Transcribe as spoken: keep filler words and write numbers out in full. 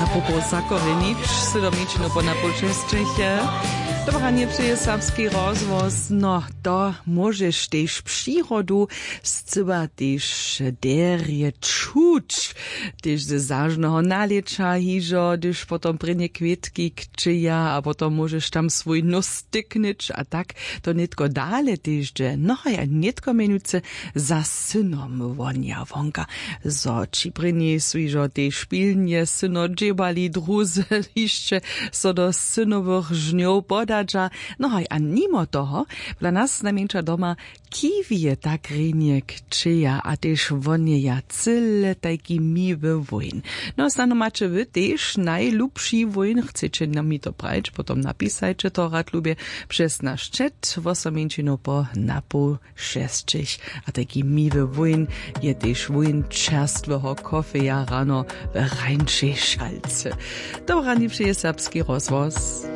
A propos zakorjenić, sydom mjeńšinu po na pół šesćich. Dobranje přeje serbski rozhłos. No, to móžeš tež přirodu scyła tež derje čuć, tež ze zažneho nalěća hižo, hdyž potom prěnje kwětki kćeja a potom móžeš tam swój nós tyknyć a tak. To nětko dale tež dźe, no a ja nětko mjenujcy za synom wonja wonka, zo ći prěni su hižo tež pilnje syno dźěbali druzy hišće so do synowych žnjow podadźa. No haj, a nimo toho, dla nas najmjeńša doma kiwije tak rjenje kćeja a tež wonjeja cyle tajki miły wójn. No snano maće wy tež najlubši wójn, chceće nam mi to prajić, potom napisajće to rad lubje přez naš chat, wosomjeńšinu po na poł šesćich. A tajki miły wójn je tež wójn čerstweho kofeja rano w rańšej šalcy. Dobrani přeje serbski rozhłos.